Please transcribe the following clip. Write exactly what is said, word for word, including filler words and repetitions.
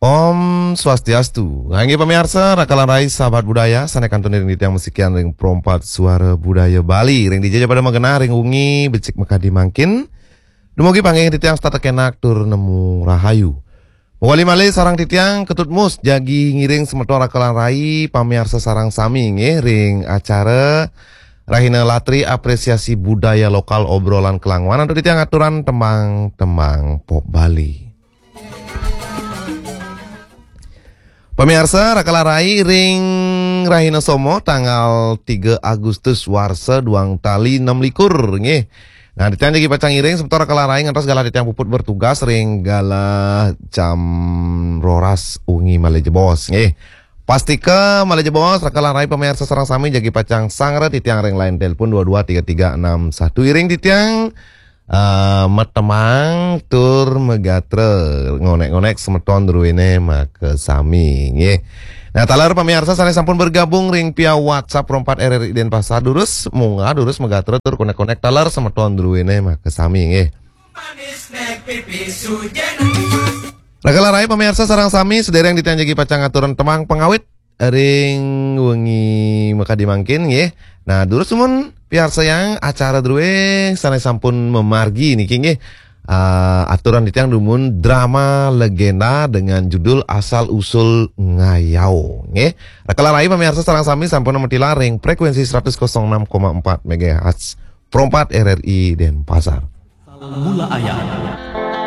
Om Swastiastu. Nggih pamiarsa, rakalan rai sahabat budaya, sané kantun ring titiang masikian ring Pro empat Suara Budaya Bali. Ring dija ja pada magenah ring wengi becik makadi mangkin. Dumugi panggih titiang setata kenak tur nemu rahayu. Mawali malih sareng titiang Ketut Mus jagi ngiring semeton rakalan rai pamiarsa sareng sami nggih ring acara Rahina Latri Apresiasi Budaya Lokal Obrolan Kelangwan antuk titiang aturan tembang-tembang pop Bali. Pamiarsa, rakalan rai ring Rahina Somo tanggal tiga Agustus warsa duang tali enam likur nggih. Nah, titiang jagi pacang ngiring semeton rakalan rai ngantos galah titiang puput bertugas ring galah jam roras wengi malih jebos nggih. Pastika malih jebos rakalan rai pamiarsa sareng sami jagi pacang sanggra titiang ring line telepon dua dua tiga tiga enam satu. Iring titiang eh, matemang tur magatra, ngonek-ngonek semeton druéné makasami nggih. Nah, taler pamiarsa sané sampun bergabung ring via WhatsApp Pro empat R R I Denpasar, durus munggah, durus magatra tur konek-konek taler semeton druéné makasami nggih. Rakalan rai pamiarsa sareng sami, sedereng titiang jagi pacang ngaturang tembang pangawit ring wengi makadi mangkin nggih. Nah, durus dumun piarsayang acara drué sané sampun mamargi niki nggih. Ah, aturan titiang dumun drama legenda dengan judul Asal Usul Ngayau nggih. Rakalan rai pamiarsa sareng sami sampun matilar ring frekuensi seratus kosong enam koma empat megahertz Pro empat R R I Denpasar. Mula ayat.